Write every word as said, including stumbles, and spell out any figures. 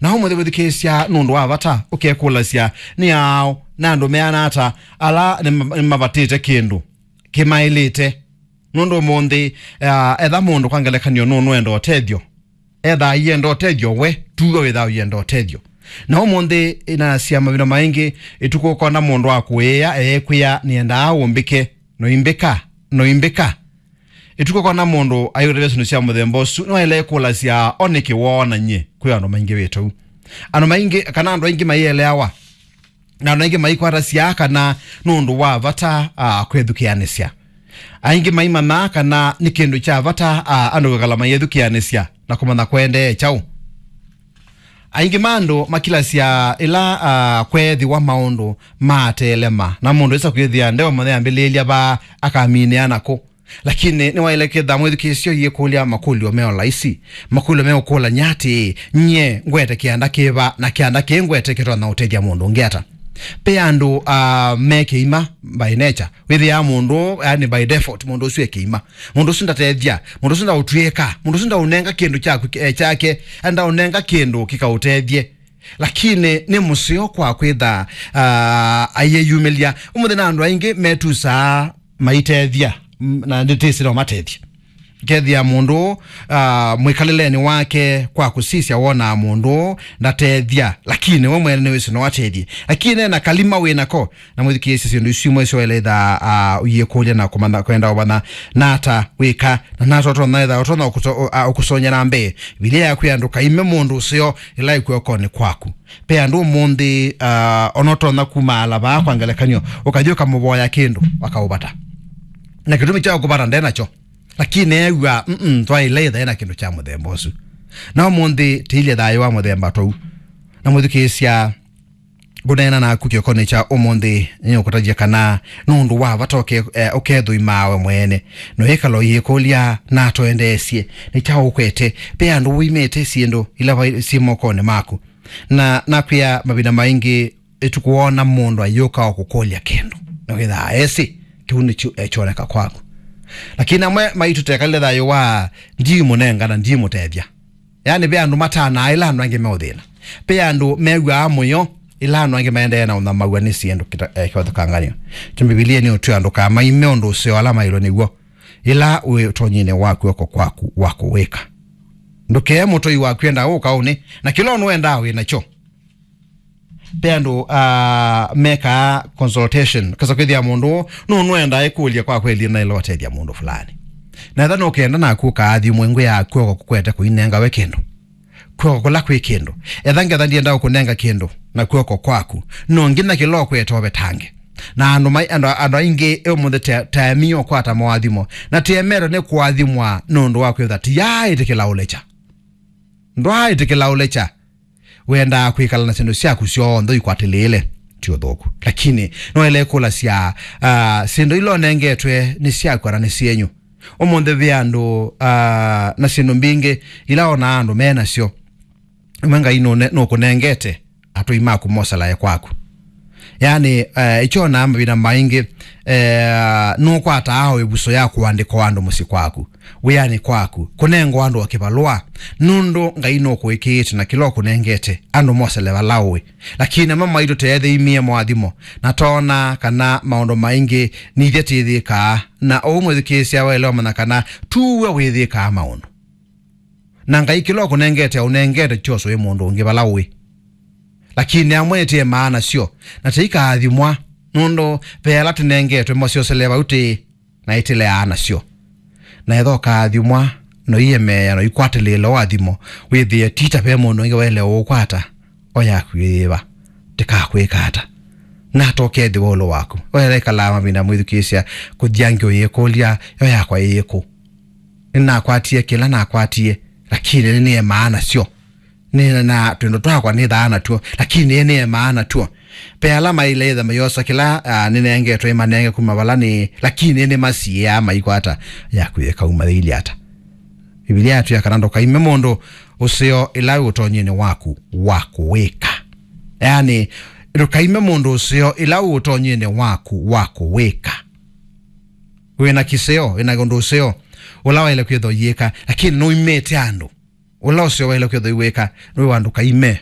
Na ũmũnthĩ wĩthukĩĩsya nũndũ wa vata, ũkekũlasya, nĩ aaũ na andũ meana ata ala nĩma-, nĩmavatĩte kĩndũ kĩmaĩlĩte? Nũndũ ũmũnthĩ, ah, etha mũndũ kwa ngelekany'o nũnũenda ũtethyo, etha aienda ũtethyo we, tuwe wĩthaa ũienda ũtethyo. Na ũmũnthĩ, ĩnasya mavinda maingĩ, ĩtukũ ũkona mũndũ akũĩĩa, eekwĩa, nĩendaa ũmbĩke, noimbĩka, noimbĩka. Ĩtukũ ũkona mũndũ ayũtavya syĩndũ sya mũthemba ũsu, nĩwaĩle kũlasya, o nĩkĩ woona nyie kwĩ andũ maingĩvĩte ũu? Andũ maingĩ, kana andũ aingĩ maieleawa, na andũ aingĩ maikwata syaa kana nũndũ wa vata, ah, kwĩthukĩanĩsya. Aingĩ maimanyaa kana nĩ kĩndũ kya vata, ah, andũ kwĩkala mayĩthukĩanĩsya na kũmanya kũendee kyaũ. Aingĩ ma andũ makilasya ĩla, ah, kweethĩwa maũndũ maatelema, na mũndũ esa kwĩthĩa ndeũmanya ambĩlĩĩlya vaa akaminĩa nakũ. Lakini nĩwaĩle kwĩtha mwĩthukĩĩsya ũyĩkũlya makũlyo me o laisi, makũlyo meũkũlany'a atĩĩ, nyie ngwete kĩanda kĩva, na kĩanda kĩĩ ngwete kĩtonya ũtethya mũndũ ũngĩ ata? Pe andũ, ah, me kĩima by nature. Wĩthĩaa mũndũ, yani by default, mũndũ ũsu e kĩima. Mũndũ ũsu ndatethya, mũndũ ũsu ndaũtw'ĩĩka, mũndũ ũsu ndaũnenga kĩndũ kyaku, eh, kyake, ndaũnenga kĩndũ kĩkaũtethye. Lakini nĩ mũseo kwa kwĩtha, ah, ayĩyumĩlya. Ũmũnthĩ na andũ aingĩ metusaa maitethya, m-, na ndĩtĩsĩ no matethye. Kethĩa mũndũ, ah, mwĩkalĩlenĩ wake kwa kũsisya wonaa mũndũ ndatethya, lakini we mwene nĩwĩsĩ no atethye. Lakini ena kalima wĩ nako, na mwĩthukĩĩsye syĩndũ isu imwe syoeleetha, ah, ũyĩkũlya na kũmanya, kwenda ũmanya nata wĩka, na nata ũtonya etha ũtonya ũkũso-, ũ-, ah, ũkũsonyera mbee. Vilia yakwĩa ndũkaime mũndũ ũseo ĩla ĩkw'okonĩ kwaku. Pe andũ ũmũnthĩ, ah, ona ũtonya kumaala vaa kwa ngelekany'o, ũkathi ũkamũvoya kĩndũ, akaũvata. Na kĩtumi kya kũvata nde nakyo. Lakini eew'a, mm, twaĩle ĩthaĩ na kĩndũ kya mũthemba ũsu. Na ũmũnthĩ tĩilye thayũ wa mũthemba tũu. Na mwĩthukĩĩsya, ngũneena naku kĩokonĩ kya ũmũnthĩ, nĩũkũtavya kana nũndũ wa vata ũke-, eh, ũkethũimaa we mwene. Noĩkala ũyĩkũlya, na twendeesye, nĩ kyaũ ũkwete? Pe andũ ũimĩte syĩndũ ila vai-, syĩ mokonĩ maku. Na nakwĩa mavinda maingĩ, ĩtukũ woona mũndũ ayũka o kũkũlya kĩndũ, na wĩthaa esĩ kĩu nĩkyo ekyoneka kwaku. Lakini amwe maitũ tekalile thayũ wa ndimũnenga na ndimũtethya. Yani, ve andũ matanaa ĩla andũ angĩ meũthĩna. Ve andũ mew'aa mũyo ĩla andũ angĩ maendee na ũthamaw'a nĩ syĩndũ kita-, eh, kĩvathũkanganyo. Kyo Mbivilia nĩ ũtwĩa andũ kamaime ũndũ ũseo ala maĩlwe nĩw'o, ĩla wĩ ũtonyinĩ wa kw'oko kwaku wa kũwĩka. Ndũkee mũtoi waku enda ũkaũnĩ, na kĩla ũnũendaa wĩ nakyo. Pe andũ, ah, mekaa consultation. Kasa kwĩthĩa mũndũ nũnũenda ĩkũlya kwa kweli na ĩla ũtethya mũndũ fulani. Na etha nũkenda naku ũkaathimwe ngwĩ ya kw'oko kũkwete kũinenga we kĩndũ. Kw'oko kũla kwĩ kĩndũ. Etha ngetha ndienda ũkũnenga kĩndũ na kw'oko kwaku. No nginya kĩla ũkwete ũvetange. Na andũ mai-, andũ, andũ aingĩ ũmũnthĩ te-, taemi ũkwata moathimo. Na tĩemetwe nĩ kũathimwa nũndũ wa kwĩtha ti yaaĩtĩkĩla ũlekya. Ndwaaĩtĩkĩla ũlekya. Wendaa kwĩkala na syĩndũ syaku syonthe ikwatĩlĩĩle, ti ũthũku. Lakini noele kũlasya, ah, syĩndũ ila ũnengetwe nĩ syaku kana nĩ syenyu? Ũmũnthĩ ve andũ, ah, na syĩndũ mbingĩ ila onaa andũ me nasyo. Imwe Ngai nũne-, nũkũnengete atũi maku moselae kwaku. Yani, eh, ĩkyo na mavinda maingĩ, eh, nũkwataa o ĩvuso ya kũandĩka o andũ mũsyĩ kwaku, wĩanĩ kwaku, kũnengwa andũ o kĩvalũa, nũndũ Ngai nũkũĩkĩĩte na kĩla ũkũnengete andũ mosele vala ũĩ. Lakini amwe maitũ teethĩimie moathimo, na toona kana maũndũ maingĩ nithyĩ tĩthĩkaa, na ũu mwĩthukĩĩsya waĩle ũmanya kana tuwe wĩthĩkaa maũndũ. Na Ngai kĩla ũkũnengete, aũnengete kyoswe mũndũ ũngĩ vala ũĩ. Lakini amwe ĩtĩe maana syo, na tĩikaathimwa, nũndũ ve ala tũnengetwe masyosele vau tĩĩ, na ĩtĩleaa nasyo. Na etha ũkaathimwa, noiyemeea, noikwatĩlĩĩla ũathimo, wĩthĩe ti ta ve mũndũ ũngĩ waĩle ũũkwata, o yaku ĩ yĩva? Ndĩkakwĩka ata? Nata ũkethĩwa ũlũ waku? Waĩle ĩkalaa mavinda mwĩthukĩĩsya kũthyangi ũyĩkũlya, yo yakwa ĩyĩkũ? Nĩnakwatie kĩla nakwatie, lakini nĩnĩemaa nasyo. Nĩ na twĩndũ twakwa nĩthaa natw'o, lakini nĩnĩemaa natw'o. Pe ala maĩle ĩtha mayosa kĩla, ah, nĩnengetwe ĩmanenge kuma vala nĩ, lakini nĩmasiĩaa maikwata yaku ĩkaumĩthĩilye ata. Mbivilia yatwĩa kana ndũkaime mũndũ ũseo ĩla wĩ ũtonyinĩ waku wa kũwĩka. Yani, ndũkaime mũndũ ũseo ĩla wĩ ũtonyinĩ waku wa kũwĩka. Wĩna kĩseo, wĩna ũndũ ũseo, ũla waĩle kwĩtha ũyĩka, lakini nũimĩte andũ. Ũla ũseo waĩle kwĩtha ũiwĩka, nĩ wa ndũkaime